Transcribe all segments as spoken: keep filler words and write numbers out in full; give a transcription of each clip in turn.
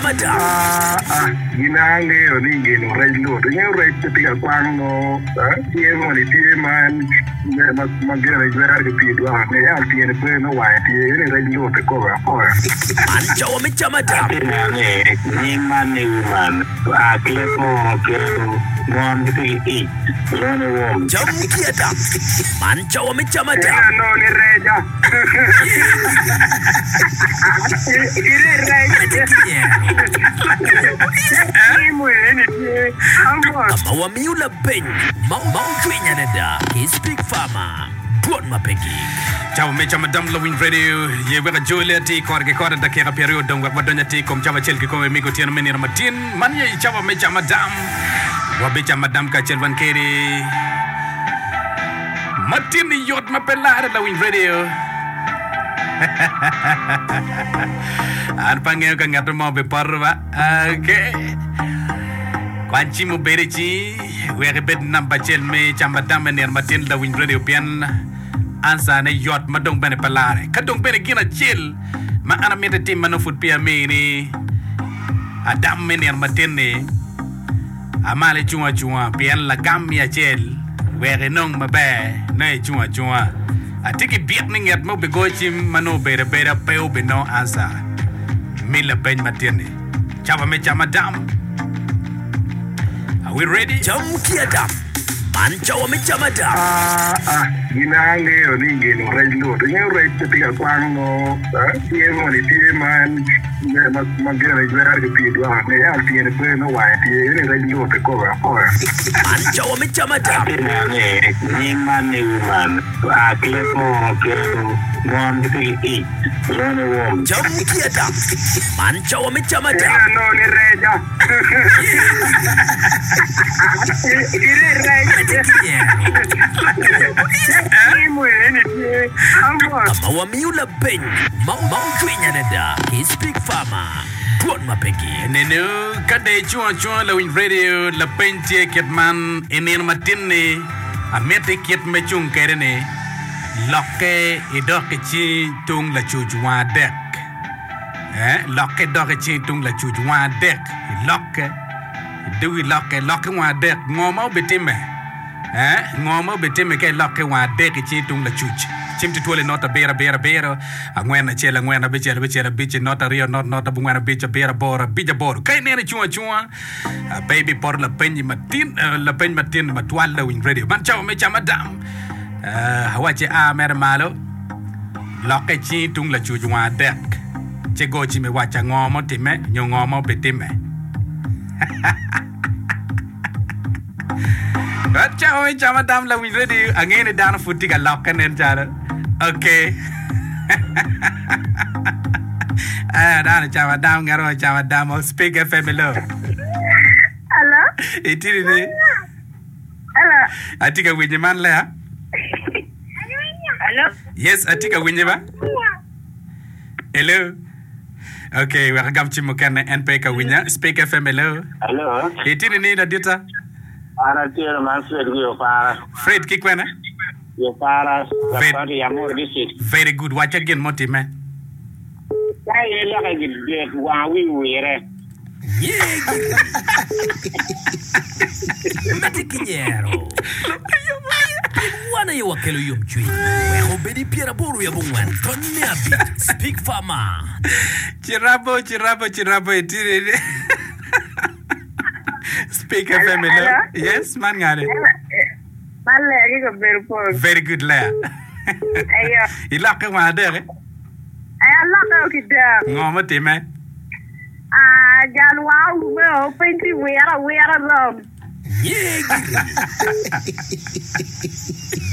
cam adam. Ah, ah, gin angeyo ni gin rec lut. Ingeyo rec tye ka kwang no, tye moni tye ma ma ma gin ijwero ki pii dwaka ne ya tyene pe no wange tye ni rec lut ikobe akoya. Man cawa me cam adam. Atye neno ni nying man ni woman a ki leb munu kelo mon gitye ki ic lwongo ni wom. Cam ki adam. Man cawa me cam adam. Ina no ni reca. Medde ki nyero. Ka ma wamiyo lapeny ma ocwiny adada ki Speak Farmer, Dwon ma pe gik. Cawa me camo adam Lawiny Radio ye wek ajoli atir kore ki kore dakika pyeraryo odong wek wadony atir i kom cawa acel kikome me otyeno me nino matin man ye i cawa me camo adam wabicamo adam kacel wan kedi matin i yot ma pe lare Lawiny Radio an pe angeyo ka ngat mo bipoto ba okay kwany cim obed i cingi wek ibed namba acel me camo adam me nino matin Lawiny Radio pien Ansa ne yot ma dong bene pe lare. Ka dong bene gin acel ma an amito itim ma nongo pud peya amini adam me nino matin-ni, a malo icung acunga pien lagam mi acel wek inong maber nongo icung acunga. Atye ki byek ni nget ma obigoyo cim ma nongo obedo abeda pe obinongo ansa mi lapeny matin-ni. Cawa me camo adam. Are we ready? Cam ki adam. Man cawa me camo adam. Ah, ah, gin angeyo ni gin rec lut. Ingeyo rec tye ka kwang no, tye moni tye ma ma ma gin ijwero ki pii dwaka ne ya tyene pe no wange tye ni rec lut ikobe akoya. Man cawa me camo adam. Atye neno ni nying man ni woman a ki leb munu kelo mon gitye ki ic lwongo ni wom. Cam ki adam. Man cawa me camo adam. Ina no ni reca. Medde ki nyero. Ka ma wamiyo lapeny ma ocwiny adada ki Speak Farmer, Dwon ma pe gik. Nenu ka dong icung acunga lawiny radio, lapeny tye kit man, I nino matin-ni, amiti kit me cung kwede-ni, lokke idok i cingi tung lacuc wang adek. Eh, lokke idok i cingi tung lacuc wang adek. Ilokke, idog ilokke, lokke wang adek. Ngo ma obitimme? Eh, ngo ma obitimme ka ilokke wang adek i cingi tung lacuc? Cim tutwal i not abiro abiro abiro, angwen acel angwen abicel abicel abic, not aryo not not abongwen abic abiro aboro abic aboro. Ka ineno icung acunga, ah, pe ibipoto lapeny matin, eh, lapeny matin matwal lawiny radio. Man cawa me camo adam. Eh, awacci a mere malo, lokke i cingi tung lacuc wang adek, ci go cim iwacca ngo ma otimme nyo ngo ma obitimme. Man cawa me camo adam lawiny radio. Angeyo ni dano pud tye ka lokke nen calo. Okay. Ah, dano ocamo adam, ngat mo ocamo adam. Oh, Speak F M hello. Hello? Itye ni? Hello? Atye ka winyi man Lea. Hello? Yes, atye ka winyi ba. Hello. Okay, wek agam cim mukene en pe ka winya. Speak F M hello. Hello? Itye ni ladita? An atye man Fred ki Opara. Fred ki kwene? Opara, Very, County, Amuru District. Very good. Wacca gin mutimme. Ka aye lokke gidek wanga wi wire. Nye giri. Medde ki nyero. Pien wan aye wakelo yomcwiny. Wek obed i pyeraboro wiye abongwen tony me abic. Speak Farmer. Cirabo, cirabo, cirabo itye ni. Speak Hello, F M hello. hello? Yes, man ngane. Hello? Eh, Man Lea ki kabedo pol. Very good Lea. Ayo. Ilokke wang adek. Eh? Ay, alokke o ki dek. Ngo mutimme? Ah, jal wang oume o, piny tye wire awira rom. Nye giri.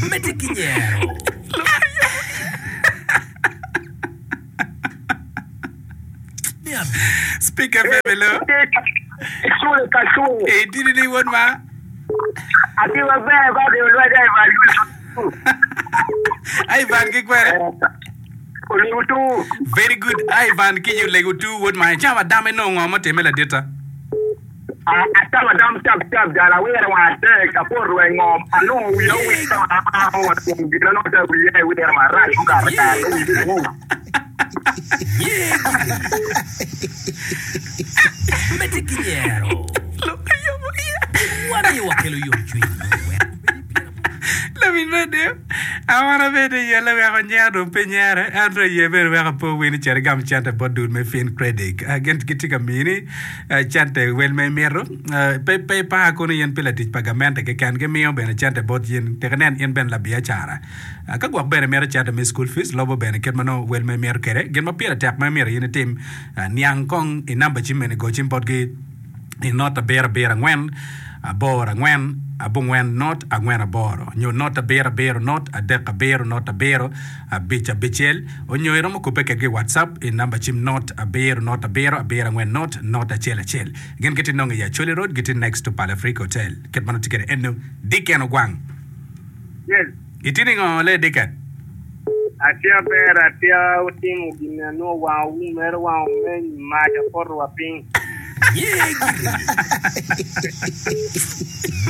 Medde ki nyero. Me abic. Speak F M hello. Cule ka cule. Itye ni wod ma? Atye maber ba dong lweda i bal Ivan ki kwene? Olego tu. Very good. Ivan ki olego tu wod ma. Icamo adam inongo ngo mutimme laditta? Acamo adam tap tap jal awire wang adek apoto wa i ngom anongo wiya owil wa kom gin anongo ta wiya iwire marac mukato kare wiyi bedo ngu. Nye giri. Medde ki nyero. Pien wan aye wakelo yomcwiny. Wek obed i pyeraboro. Lawiny radio, an abedo i yelle weko nyero dong pe nyere, ento iye bene weko apo wini cito igam cente bot dul me Fin Credit. Ah, Gin gitye ka mini eh, cente wel ma imito. Eh, Pe pe ipar kono in pi latic pa gamente keken, gimiyo bene cente bot in tek inen in bene labiacara. Ah, Ka gwok bene imito cente me school fees, lobo bene kit ma nongo wel ma imito kwede. Gin ma pire tek ma imito in itim, ah, niang kong i namba cim mene, go cim botgi i not abiro abiro angwen aboro angwen abongwen not angwen aboro nyo not abiro abiro not adek abiro not abiro abic abicel onyo iromo kubbe kedgi i WhatsApp i namba cim not abiro not abiro abiro angwen not not acel acel. Gin gitye nongo i Acholi Road gitye next to Pal Africa Hotel. Kit ma nongo tye kwede eno Dicken Ogwang. Yes. Itye ningo le Dicken? Atye aber, atye otimo gin anongo wang owum mere wang omeny mac apoto wa piny. Nye giri.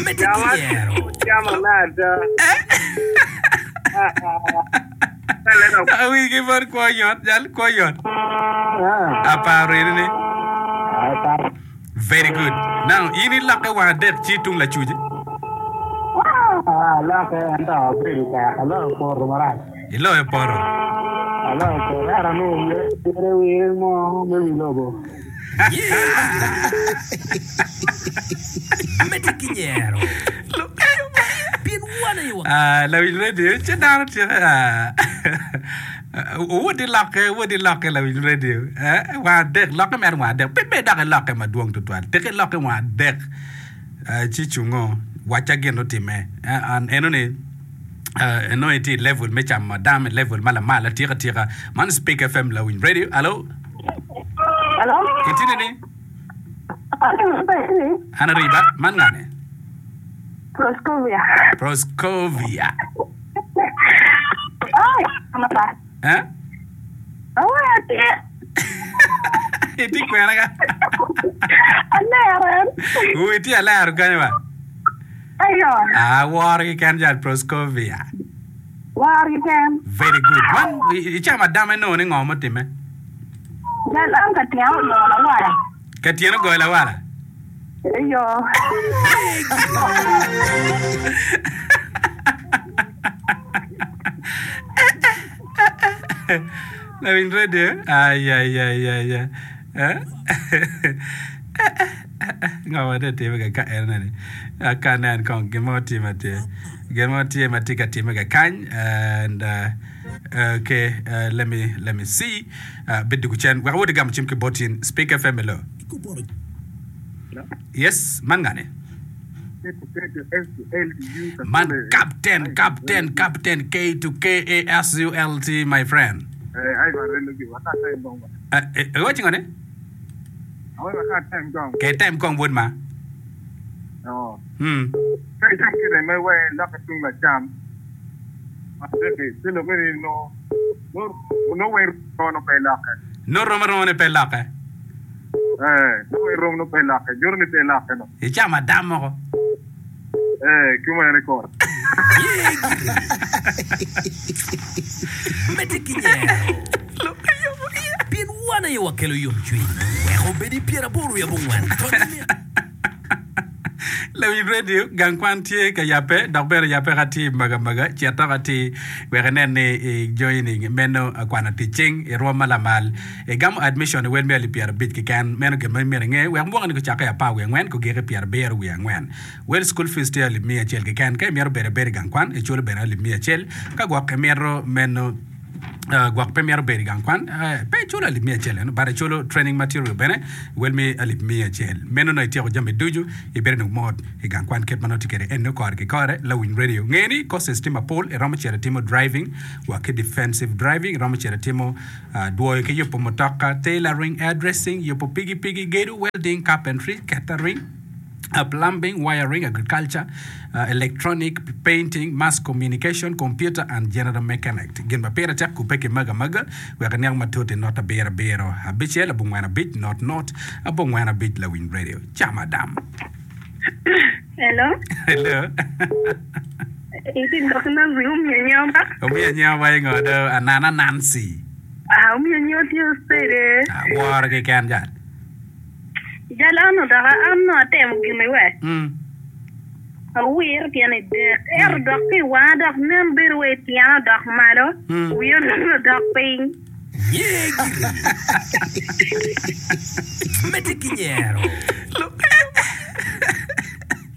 Medde ki Cama nyero. cama me ada. Awinyi bot kwo yot, jal kwo yot. Aparo eni ni. Very good. Now, in ilokke wang adek ci tung lacuc. Alokke ento abedo tek aloyo poto marac. Iloyo poto. Aloyo poto ento anongo wire wire mo me wi lobo. Nye giri. Medde ki nyero. Pien wan aye wakelo. Ah, lawiny radio, ci dano tye ah, wod ilokke, wod ilokke lawiny radio. Eh, wang adek, lokke mere wang adek. Pe bed dok ilokke madwong tutwal. Tek ilokke wang adek. Eh, ci cungo, wacca gin otimme. Eh, an eno ni eh, eno itye i level me camo adam, i level ma lamal atika atika. Man Speak F M lawiny radio. Hello? Hello? Itye nini? An ariba, man ngane? Proscovia. Proscovia. Ay, mapa. Eh? Oh, atye. Itye kwena ka? Alero. Uu, itye alero kanyo ba? Ayo. Ah, woro keken jal Proscovia. Woro keken. Very good. Man, i- icamo adam inongo ni ngo mutimme? Jal an ka tyeno ogoyo lawala. Ka tyeno ogoyo lawala? Ayo. Lawiny radio. Ay, ay, ay, ay, ay. Eh? Ngo ma tye timme ka ka en eni? Ka nen kong gin mo tye ma tye. Gin mo tye ma tye ka timme ka kany. And uh, okay, uh, let me let me see. Uh, bed dugu cen. Wek awot igamo cim ki bot in. Speak F M hello. Yes, man ngane? Man Captain, Captain, Captain K to K A S U L T, my friend. Uh, eh, iwaci ngone? Ke time kong wod ma. Hmm. No rom aroma ni pe lokke. Icamo adam moko. Ye giri. Medde ki nyero. Pien wan aye wakelo yomcwiny. Wek obed i pyeraboro i abongwen tony me. Lawiny radio, gang kwan tye ka yabbe dok bene yabbe ka tye maga maga cito ka tye wek inen ni i joining meno kwano tic cing i rwom ma lamal igamo admission i wel me alip pyerabic keken meno gin ma myero inge wek mwaka ni gucakke apar wiye angwen kugiki pyerabiro wiye angwen wel school fees tye alip miya acel keken ka imito bedo abeda i gang kwan iculo bene alip miya acel ka gwok imito meno Uh, gwok pe myero bedo i gang kwan, uh, pe iculo alip miya acel eno, but iculo training material bene wel mi alip miya acel. Meno nongo ityeko jami ducu, ibedo dong mot i gang kwan kit ma nongo tye kwede eno kore ki kore. Lawiny radio nge ni courses tye mapol, iromo cito itimo driving wa ki defensive driving, iromo cito itimo uh, dwoyo ki yubo mutoka, tailoring, hairdressing, yubo pikipiki, gedo, welding, carpentry, catering, Uh, plumbing, wiring, agriculture, uh, electronic, painting, mass communication, computer and general mechanic. Gin ma pire tek kubbe ki maga maga wek iniang matut i not abiro abiro abicel abongwen abic not not abongwen abic Lawiny Radio. Cam adam. Hello. Hello. Iti dok Nancy omiyo nyoma. Omiyo nyoma ingo do anana Nancy. Ah, omiyo nyo tye osede. Aworo keken jal. Jal an odok an nongo atemo gin iwe. Mm. Awiro tyen adek. Ento dok ki i wanga dok nen bedo wa i tyena odok malo, Mm. wiya onongo odok piny. Nye giri. Medde ki nyero.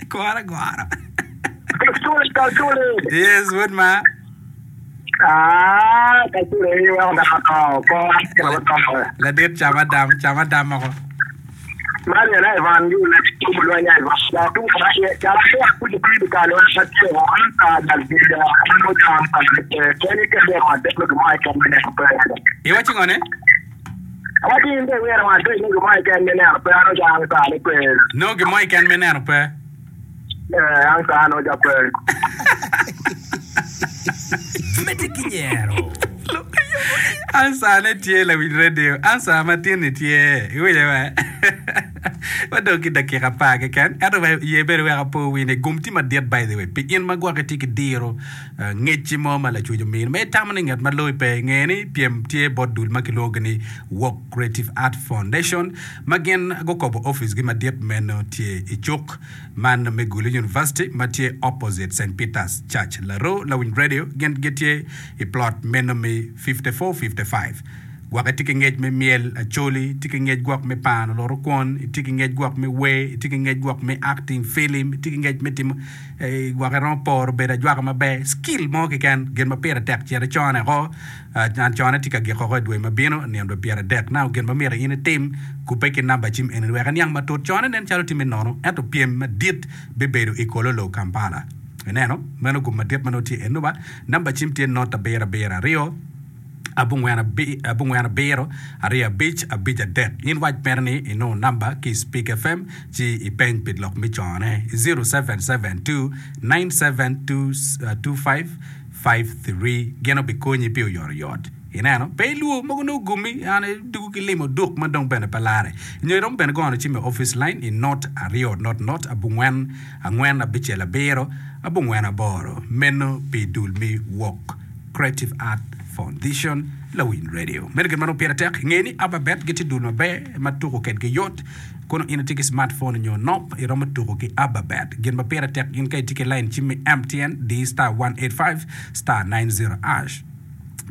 Kwara gwara. Kacule, kacule. Yes, wod ma. Ah, kacule ni weko dako to, ko akela to. Ladit cam adam, cam adam moko. Mani na Ivan gi na kubo lweny Ivan. Ya tu ka ye ya la ku ku ku ka lo ka ti o an ka dal bi da an ko jam ka ke ke ni ke de ma de lo ma ke me ne pe. Iwaco ngo ne? Awati inde wera ma de lo ma ke me ne pe ano jam ka ne pe. No gin mo keken me neno pe. Eh an ka no ja pe. Medde ki nyero. Ansa ne tye lawiny radio. Ansa ma tin-ni tye. Iwinyo ba? Wadong ki dakika apar keken. Ento wek ye bene wek apo wi ni gum tye madit by the way. Pi in ma gwok itye ki diro eh, ngecci mo ma lacuc omini ma itamo ni ngat ma loyi pe nge ni pyem tye bot dul ma kilwongo ni Wok Creative Art Foundation ma gin gukobo office gi madit meno tye i cuk man me Gulu University ma tye opposite Saint Peters Church Laroo Lawiny Radio gin gitye i plot meno me fifty-four fifty-five. Gwok itye ki ngec me myel acholi, itye ki ngec gwok me pano luto kwon, itye ki ngec gwok me wer, itye ki ngec gwok me acting film, itye ki ngec me timo eh, gwok iromo poro bedo ajwaka maber, skill mo keken gin ma pire tek cito icone oko. Ah, an cone tye ka giko oko i dwe ma bino nino dwe pyeradek. Now gin ma myero in itim kubbe ki namba cim eni wek iniang matut. Cone nen calo tye me nono ento pyem madit bibedo i Kololo, Kampala. Ineno? Meno gum madit ma nongo tye eno ba. Namba cim tye not abiro abiro aryo abongwen abi- abongwen abiro aryo abic abic adek. In wac mere ni inongo namba ki i Speak F M ci ipeny pi lok me cone zero seven seven two nine seven two two five five three gin obikonyi pi oyotoyot. Ineno? Pe ilwor mogo nongo gumi an idugo ki limo duk ma dong bene pe lare. Nyo iromo bene gono cim i office line i not aryo not not abongwen angwen abicel abiro abongwen aboro. Meno pi dul me Wok Creative Art Foundation Lawiny Radio. Meno gin ma nongo pire tek. Nge ni Ababet gitye dul maber ma tuko kedgi yot. Kono in itye ki smartphone nyo nop, iromo tuko ki Ababet. Gin ma pire tek in ka itye ki line cim me M T N, di star one eight five star nine zero hash.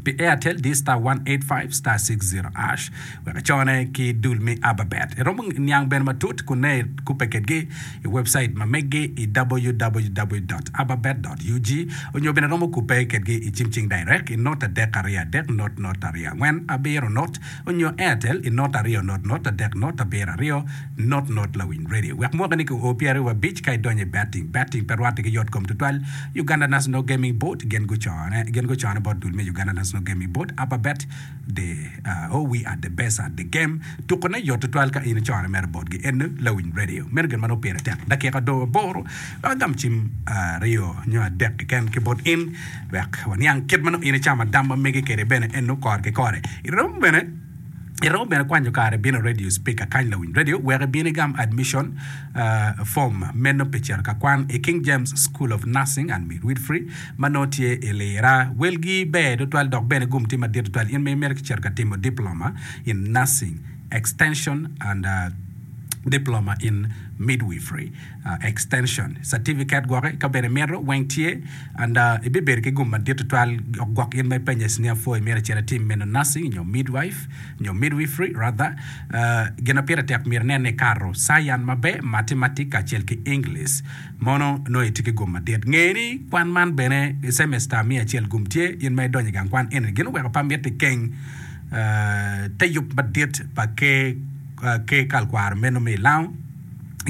Pi Airtel, di star one eight five star six zero hash. Wek icone ki dul me Ababet. Iromo niang bene matut kun ne ikubbe kedgi i website ma meggi i www dot ababet dot ug onyo bene romo kubbe kedgi i cim cing direct i not adek aryo adek not not aryo angwen abiro not onyo Airtel i not aryo not not adek not abiro aryo not not Lawiny Radio. Wek mwaka ni ki o pyeraryo wa abic ka idonyo i betting. Betting pe rwatte ki yot kom tutwal. Uganda National Gaming Board gin gucone gin gucone bot dul me Uganda National Gaming Board Ababet the uh, oh we are the best at the game. Tukone yot tutwal ka in icone mere botgi eno Lawiny Radio. Meno gin ma nongo pire tek. Dakika dong aboro wek agam cim aryo nyo adek keken ki bot in wek waniang kit ma nongo in icamo adam ma megi kede bene eno kore ki kore. Iromo bene iromo bene kwanyo kare bino radio speaker kany Lawiny Radio wek ibin igam admission uh, form meno pi cito ka kwan i King James School of Nursing and Midwifery ma nongo tye i Lira. Welgi ber tutwal dok bene gum tye madit tutwal in ma imito ki cito ka timo diploma in nursing extension and uh, diploma in midwifery uh, extension certificate gwoke ka bene mito weng tye and uh, ibibedo ki gum madit tutwal gwok in ma ipenyo i senior four imito icito itim meno nursing nyo midwife nyo midwifery rather uh, gin ma pire tek myero inen ni ikato science maber mathematics kacel ki English mono nongo itye ki gum madit. Nge ni kwan man bene i semester miya acel gum tye in ma idonyo i gang kwan eni gin oweko pa miti keng uh, te yub madit pa ke uh, ke kalkwaro meno me ilango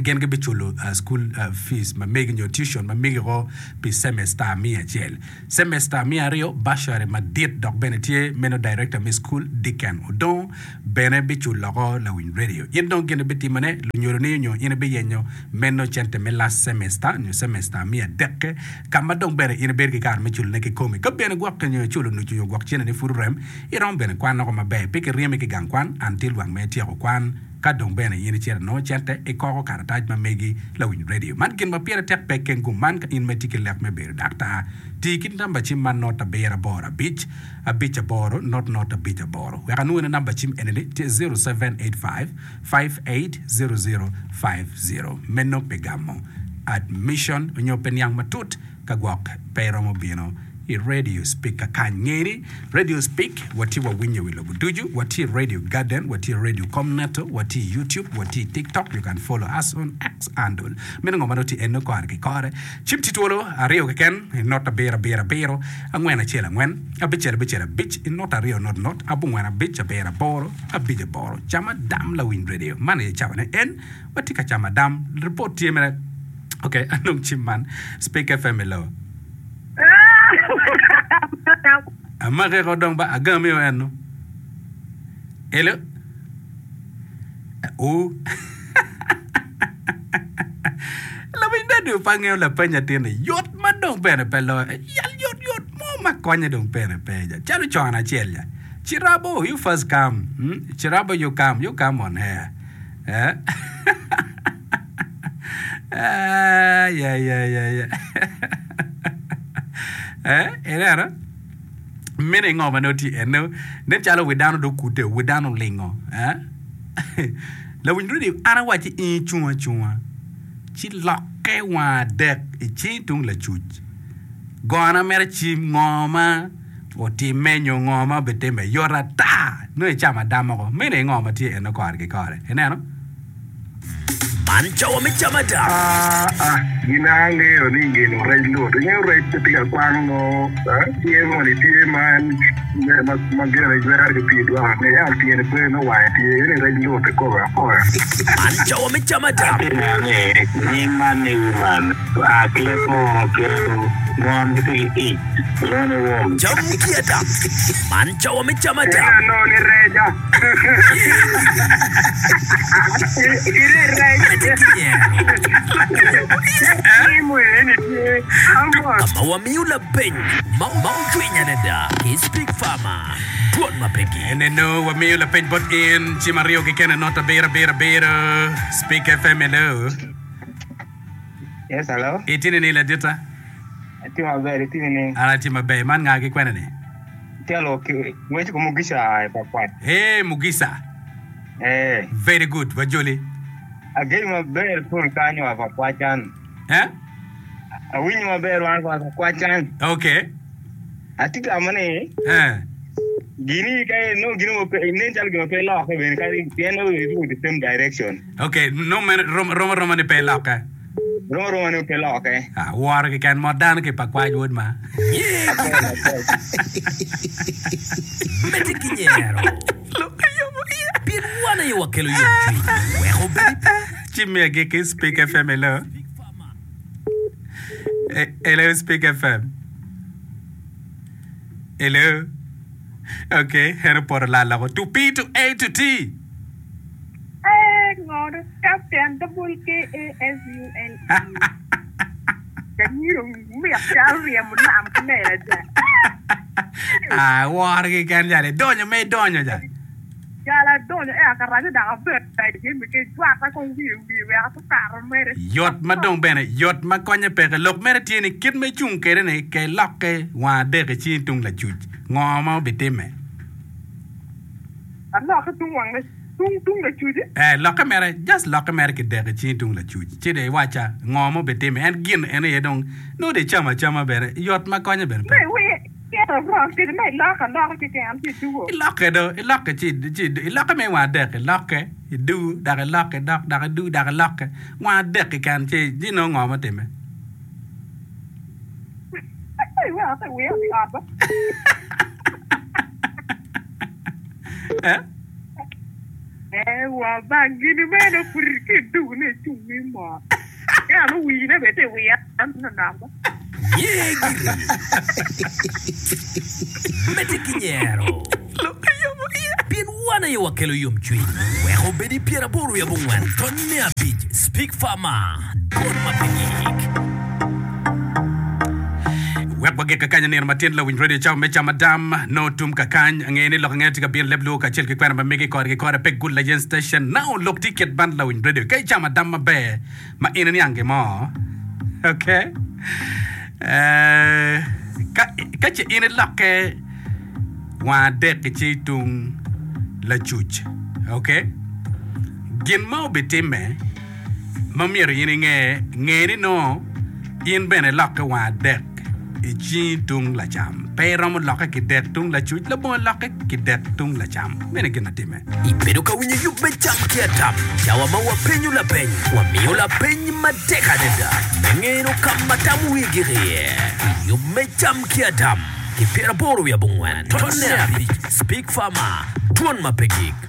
gin gibiculo uh, school uh, fees ma megi nyo tuition ma megi ko pi semester miya acel. Semester miya aryo bursary madit dok bene tye meno director me school Deacon Odong bene biculo oko Lawiny Radio. In dong gin ibitimone lunyodo ni nyo in ibiyenyo meno cente me last semester nyo semester miya adek ka ma dong bene in ibedo ki kare me culone kikomi. Ka bene gwok nyo iculo nucu nyo gwok cene ni pud orem iromo bene kwan oko maber pe kiryemi ki gang kwan until wang me ityeko kwan Ka dong bene in icito inongo cente, ikoko karatac ma megi lawiny radio. Man gin ma pire tek pe keng gum man ka in ma itye ki lek me bedo daktar. Ti ki namba cim man not abiro aboro abic, abic aboro, not not abic aboro. Wek anwone namba cim eni-ni tye zero seven eight five, five eight zero zero five zero. Meno pi gamo admission onyo pi niang matut ka gwok pe iromo bino i Radio Speak kakany. Nge ni Radio Speak watye wawinyo i wi lobo ducu. Watye i Radio Garden, watye i Radio Comneto, watye i YouTube, watye i TikTok, you can follow us on X handle. Meno ngo ma nongo tye eno kore ki kore. Cim tye twolo aryo keken, i not abiro abiro abiro, angwen acel angwen, abicel abicel abic, i not aryo not not, abongwen abic abiro aboro, abic aboro. Cam adam lawiny radio. Man aye cawane en watye ka camo adam. Report tye mere. Ok, anong cim man. Speak F M hello. Amake ko dong ba agami o eno. Hello. U. Lawiny radio pa ngeyo lapeny atin-ni yot ma dong bene pe loyo. Yal yot yot mo ma konye dong bene pe ja. Calo con acel ja. Cirabo, you first come. Hmm? Cirabo, you come. You come on here. Eh? Ah, yeah, yeah, yeah, yeah. Eh, ineno? Meno ngo ma nongo tye eno? Nen calo wi dano dong okute, wi dano olingo. Eh? Lawiny radio, an awacci in icung acunga, ci lokke wang adek i cingi tung lacuc. Gona mere cim ngo ma otimme nyo ngo ma obitimme yot ata nongo icamo adam moko. Meno aye ngo ma tye eno kore ki kore. Ineno? Man cawa me camo adam. Ah, ah, gin angeyo ni gin rec lut. Ingeyo rec pe tye ka kwang nongo, eh, tye moni tye ma en ma ma gene jwero ki pii dwoko ni ento tyene pe me wange tye eni rec lut kikobe akoya. Man cawa me camo adam. Atye neno ni nying man ni woman oa ki leb munu kelo mon gitye ki ic lwongo ni wom. Cam ki adam. Man cawa me camo adam. Ento anongo ni reca. Medde ki nyero. Ka ma wamiyo lapeny ma ocwiny adada ki Speak Farmer, Dwon ma pe gik. Eneno wamiyo lapeny bot in cim aryo keken not abiro abiro abiro Speak F M hello. Yes, hello. Itye nini ladita? Atye maber, itye nini? An atye maber. Man nga ki kwene ni? Atye aloko ki ngwec ko Mugisa i Pakwat. Hey Mugisa. Eh. Very good, wajoli. Ageni maber pol kanyo wa Pakwat can. Eh? Awinyo maber wan wa Pakwat can. Okay. Atye tamo ni Eh. gini ka no gini mo pe nen calo gima pe lokke bene ka pien no it go the same direction. Okay, no meno rom rom aroma ni pe lokke. Rom aroma ni pe lokke. Ah, woro keken mot dano ki Pakwach wod ma. Apwoyo apwoyo. Medde ki nyero. Pien wan aye wakelo yomcwiny wek obed i Ci mi agikki Speak F M hello. Eh, hello Speak F M. Hello. Okay, en opoto lal loko. To P to A to T. Eh, ngoro Captain double K A S U L E. Kanyiro mit calo ryemo nam ki lela ja. Ah, woro keken jal. Idonyo ma idonyo jal. Jal adonyo e akaraco dok abedo jami ki jwata kong wiye wiye wek atukato mere. Yot ma dong bene yot ma konye peke. Lok mere tye ni kit ma icung kwede ni ke ilokke wang adek i cingi tung lacuc. Ngo ma obitimme? Alokke tung wang tung tung lacuc. Eh, lokke mere, just lokke mere ki dek i cingi tung lacuc. Ci dong iwacca ngo ma obitimme. En gin en aye dong nongo dong icamo acama bene yot ma konye bene Me pe. wiye iketo wrong kede me iloko aloka keken ci idugo. Ilokke do, ilokke ci ci ilokke me wang adek, ilokke, idugo, dok ilokke, dok dok idugo, dok ilokke. Wang adek keken ci ci nongo ngo mutimme? Ai wek ate wiya odhi ot ba. Eh? Eh, wa bang gini meno pud ki idugo ni icung ni mot. Ento wine bene tye i wiya nonok ba. Ye giri. Medde ki nyero. Pien wan aye wakelo yomcwiny. Wek obed i pyeraboro wiye abongwen tony me abic Speak Farmer, Dwon ma pe gik. Wek wagik kakany nino matin lawiny radio cawa me camo adam no tum kakany ange ni lok ange tye ka bino leb luo kacel ki kwena ma megi kore ki kore pe gul layen station now lok tye kit man lawiny radio ka icamo adam maber ma in iniang gin mo okay eh, ka, ka ce in ilokke wang adek ki tung lacuc okay gin ma obitimme ma myero in inge nge ni no in bene lokke wang adek i cingi tung lacam pe iromo lokke ki dek tung lacuc labongo lokke ki dek tung lacam mene gin atime Ibedo ka winyo yub me cam ki adam cawa ma wapenyo lapeny wamiyo lapeny matek adada me ngeno ka ma tam wigi iye yub me cam ki adam ki pyeraboro wiye abongwen tonne abic Speak Farmer dwon ma pe gik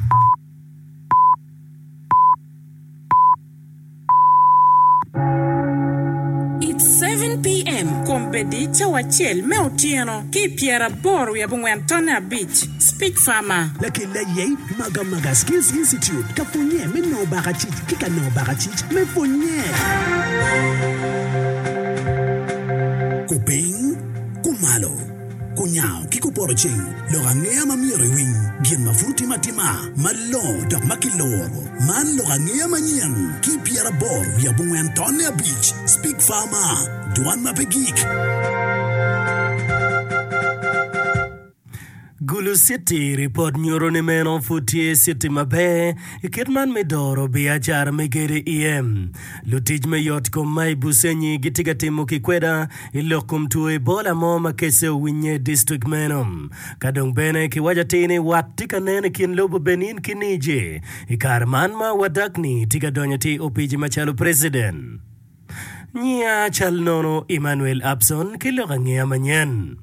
It's seven PM, Kombeddi cawa acel me otyeno ki i pyeraboro wiye abongwen tonne abic. Speak Farmer. Lakel aye Magamaga Skills Institute ka pwonye me nongo bakacic ki ka nongo bakacic me pwonye. Kupiny, kumalo, kunyango ki kupoto ceng lok angeya ma myero iwiny gin ma pud otimo atima malongo dok ma kiloro man lok angeya manyen ki pyeraboro wiye abongwen tonne abic Speak Farmer dwan ma pe gik. Gulu City ripot nyuto ni meno pud tye city maber i kit man me doro biacara me gedo iye. Lutic me yot kom ma i Busenyi gitye ka timo kikweda i lok kom two Ebola mo ma kece owinye i distrik meno. Ka dong bene kiwaco atir ni wat tye ka nen i kin lobo Benin ki Niger i kare man ma Wadagni tye ka donyo atir i opici macalo preciden. Nyiya cal nono Emmanuel Abson ki lok angeya manyen.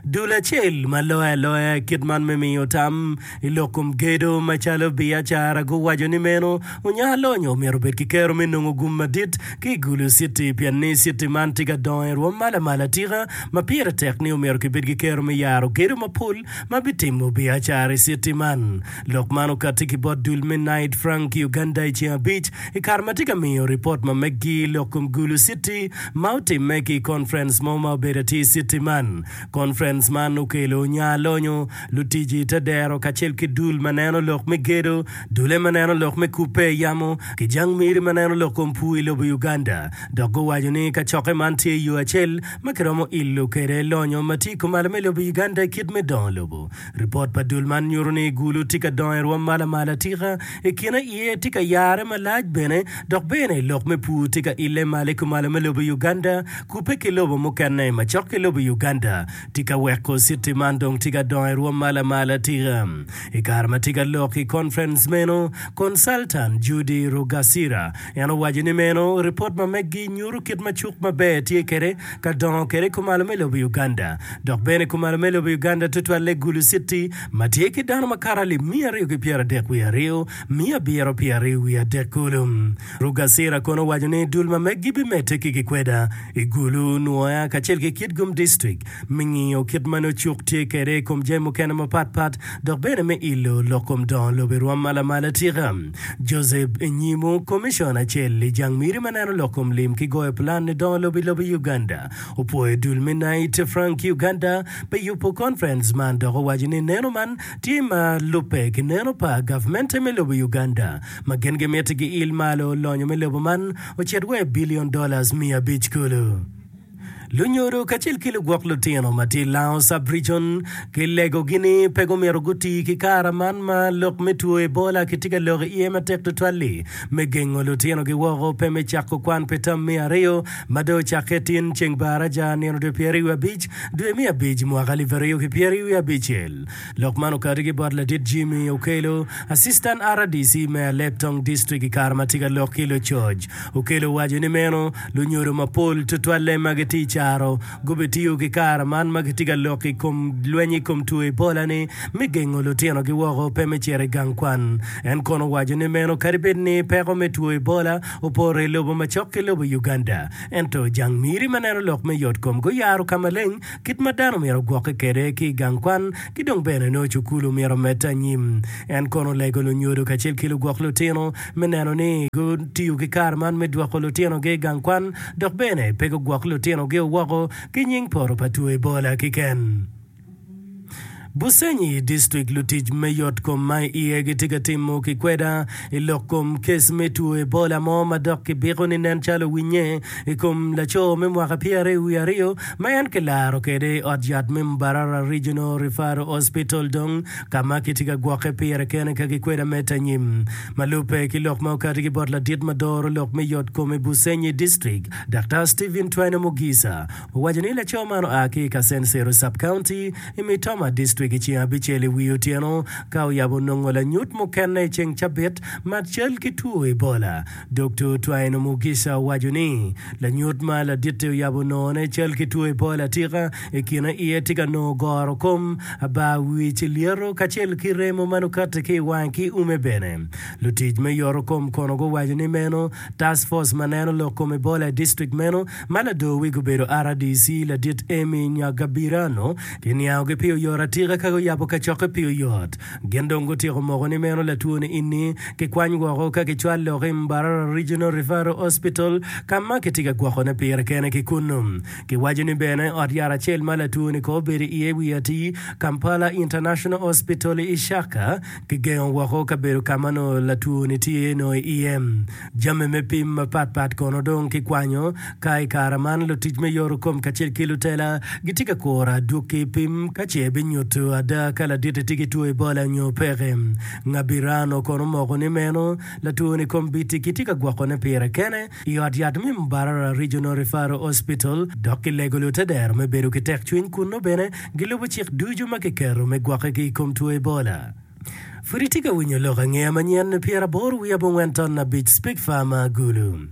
Dul acel ma loyo aloya i kit man me miyo tam i lok kom gedo macalo biacara guwaco ni meno onya lonyo myero obed ki kero me nongo gum madit ki i Gulu City pien ni city man tye ka dongo i rwom ma lamal atika ma pire tek ni omyero kibed ki kero me yaro gedo mapol ma bitimo biacara i city man. Lok man okatti ki bot dul me Knight Frank Uganda i ceng abic i kare ma tye ka miyo ripot ma meggi i lok kom Gulu City ma otimme ki i conference mo ma obedo atir i city man. Conference man okelo nya lonyo, lutic i te dero kacel ki dul ma neno lok me gedo, dule ma neno lok me kubbe i yamo, ki jang miri ma neno lok kom pur i lobo Uganda. Dok guwaco ni kacokke man tye yo acel ma kiromo ilo kwede lonyo ma tye i kumalo me lobo Uganda i kit me dongo lobo. Ripot pa dul man nyuto ni Gulu tye ka dongo i rwom ma lamal atika, i kine iye tye ka yare malac bene, dok bene lok me pur tye ka ille malo i kumalo me lobo Uganda kubbe ki lobo mukene macok ki lobo Uganda tye ka weko citi man dong tye ka dongo i rwom ma lamal atika. I kare ma tye ka lok i conference meno, Consultant Judy Rugasira en owaco ni meno ripot ma meggi nyuto kit ma cuk maber tye kwede ka dongo kwede i kumalo me lobo Uganda dok bene kumalo me lobo Uganda tutwalle Gulu City ma tye ki dano makato alip miya aryo ki pyeradek wiye aryo miya abiro pyeraryo wiye adek kulu. Rugasira kono owaco ni dul ma meggi bimedde ki gikweda i Gulu, Nwoya kacel ki Kitgum District me ngiyo kit ma nongo cuk tye kwede i kom jami mukene mapat pat dok bene me ilo lok kom dongo lobo i rwom ma lamal atika. Joseph Nyimo, Komicona acel i jang miri ma neno lok kom lim ki goyo plan i dongo lobo i lobo Uganda opwoyo dul me Knight Frank Uganda pi yubo conference man dok owaco ni neno man tye ma lubbe ki neno pa gavmente me lobo Uganda ma gin gimiti giil malo lonyo me lobo man ocit wa i billion dollars miya abic kulu. Lunyodo kacel ki lugwok lutino ma tye i Lango Sub-Region kilegogi ni pe gumyero guti ki kara man ma lok me two Ebola kitye ka lok iye matek tutwal-li me gengo lutinogi woko pe me cako kwan pi tam me aryo ma dong ocakke tin ceng baraja nino dwe pyeraryo wiye abic dwe me abic mwaka alip aryo ki pyeraryo wiye abicel. Lok man okati ki bot ladit Jimmy Okello, Assistant R D C me Alebtong District i kare ma tye ka lok ki lucoc. Okello owaco ni meno lunyodo mapol tutwalle ma gitye i caro gubitiyo ki kare man ma gitye ka lok i kom lweny i kom two Ebola ni me gengo lutinogi woko pe me cito i gang kwan. En kono owaco ni meno kadi bed ni peko me two Ebola opoto i lobo macok ki lobo Uganda ento jang miri ma neno lok me yotkom guyaro ka maleng kit ma dano myero ogwokke kwede ki i gang kwan ki dong bene nongo cukulu myero omedde anyim. En kono olego lunyodo kacel ki lugwok lutino me neno ni gutiyo ki kare man me dwoko lutinogi i gang kwan dok bene pe gugwok lutinogi woko ki nying poto pa two Ebola keken. Busenyi District Lutic me yot kom ma i iye gitye ka timo ki kweda i lok kom kes me two Ebola mo ma dok kibiko ni nen calo owinye i kom laco me mwaka pyeraryo wiye aryo ma en kilaro kwede i ot yat me Mbarara Regional Referral Hospital dong ka ma kitye ka gwokke pire kene ka gikweda medde anyim. Ma lubbe ki lok ma okati ki bot ladit ma doro lok me yot kom i Busenyi District, Daktar Stephen Twine Mugisa owaco ni laco man oa ki i Kasensero Sub-County i Mitoma District i ceng abicel i wi otyeno ka oyabo nongo lanyut mukene i ceng cabit ma cal ki two Ebola. Doktor Twine Mugisa owaco ni lanyut ma laditte oyabo nongone cal ki two Ebola atika i kine iye tye ka nongo goro kom, abar wic, lyeto kacel ki remo ma nongo kati ki i wange ki ume bene. Lutic me yoto kom kono guwaco ni meno Task Force ma neno lok kom Ebola i district meno ma lador wigi obedo R D C ladit Amy Nyagabirano kiniangogi pi oyot atika ka guyabo kacokke pi oyot. Gin dong gutyeko moko ni meno latwo-ni ini kikwany woko ka kicwal lok i Mbarara Regional Referral Hospital ka ma kitye ka gwokone pire kene ki kunnu. Kiwaco ni bene ot yat acel ma latwo-ni kong obedo iye wiye atir, Kampala International Hospital i Ishaka, kigengo woko kabedo ka ma nongo latwo-ni tye nongo iye. Jami me pim mapatpat kono dong kikwanyo, ka i kare man lutic me yoto kom kacel ki lutela gitye ka kuro adwogi pim ka ce binyuto ada ka ladit-ti tye ki two Ebola nyo peke. Ngabirano kono omoko ni meno latwo-ni kombeddi kitye ka gwokone pire kene i ot yat me Mbarara Regional Referral Hospital dok kilego lutedero me bedo ki tekcwiny kun nongo bene gilubo cik ducu ma kiketo me gwokke ki i kom two Ebola. Pud itye ka winyo lok angeya manyen pyeraboro wiye abongwen ton abic Speak Farmer Gulu.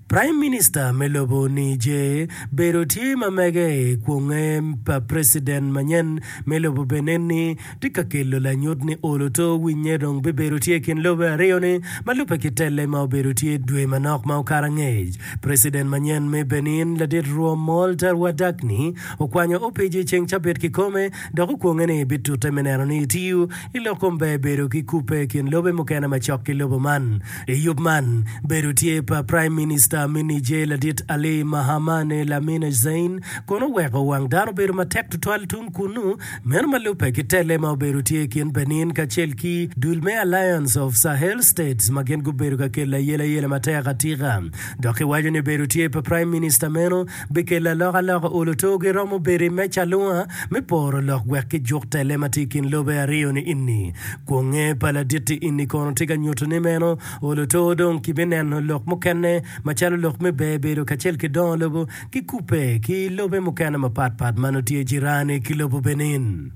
Prime Minister me lobo Niger bedo tye ma mege i kwonge pa President manyen me lobo Benin ni tye ka kelo lanyut ni olo to winye dong bibedo tye i kin lobe aryo ni ma lubbe ki telle ma obedo tye dwe manok ma okato angec. President manyen me Benin ladit Romuald Wadagni okwanyo opic i ceng cabit kikome dok okwonge ni ebitute me neno ni etiyo i lok kom ber bedo ki kubbe i kin lobe mukene macok ki lobo man. I yub man, bedo tye pa Prime Minister me Niger ladit Ali Mahamane Lamine Zeine kono oweko wang dano obedo matek tutwal tung kunnu, meno ma lubbe ki telle ma obedo tye i kin Benin kacel ki dul me Alliance of Sahel States ma gin gubedo ka kelo ayelayela matek atika. Dok kiwaco ni bedo tye pa Prime Minister meno bikelo alokaloka olo to giromo bedo i meja alunga me poro lok wek kijuk tele ma tye i kin lobe aryo-ni ini. Kwonge pa ladit-ti ini kono tye ka nyuto ni meno olo to dong kibineno lok mukene macalo lok me ber bedo kacel ki dongo lobo ki kubbe ki lobe mukene mapatpat ma nongo tye jirani ki lobo Benin.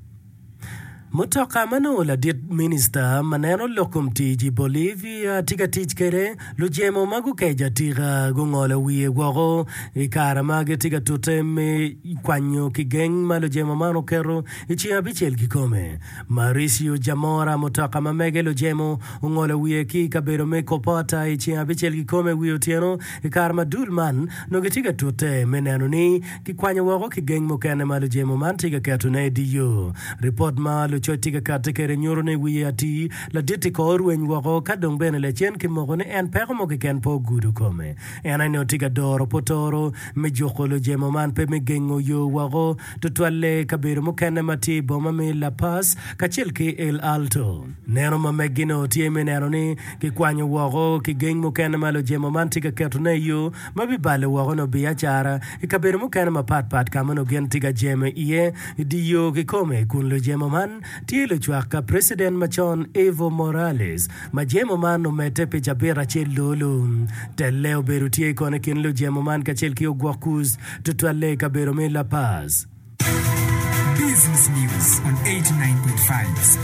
Mutoka ma nongo ladit minista ma neno lok kom tic i Bolivia tye ka tic kwede, lujemo ma gukeco atika gungolo wiye woko i kare ma gitye ka tute me kwanyo kigeng ma lujemo man oketo i ceng abicel kikome. Mauricio Jamora, mutoka ma mege lujemo ongolo wiye ki i kabedo me Copota i ceng abicel kikome wi otyeno i kare ma dul man nongo gitye ka tute me neno ni Kikwanyo woko ki geng mukene ma lujemo man tye ka ketone i dye yo. Ripot ma lucoc tye ka katte kwede nyuto ni wiye atir, ladit-ti kor orweny woko ka dong bene lacen kimoko ni en peko mo keken pe ogudo kome. En aye nongo tye ka doro potoro me juko lujemo man pe me gengo yo woko, tutwalle i kabedo mukene ma tye i boma me La Paz kacel ki El Alto. Neno ma meggi nongo tye me neno ni kikwanyo woko ki geng mukene ma lujemo man tye ka ketone i yo ma bibalo woko nongo biacara i kabedo mukene mapat pat ka ma nongo gin tye ka jemo iye i dye yo kikome kun lujemo man tye lucwak ka Preciden macon Evo Morales ma jemo man omedde pi cabit acel lolu. Telle obedo tye kono i kin lujemo man kacel ki ogwok kuc tutwalle i kabedo me La Paz. Business News on eighty-nine point five.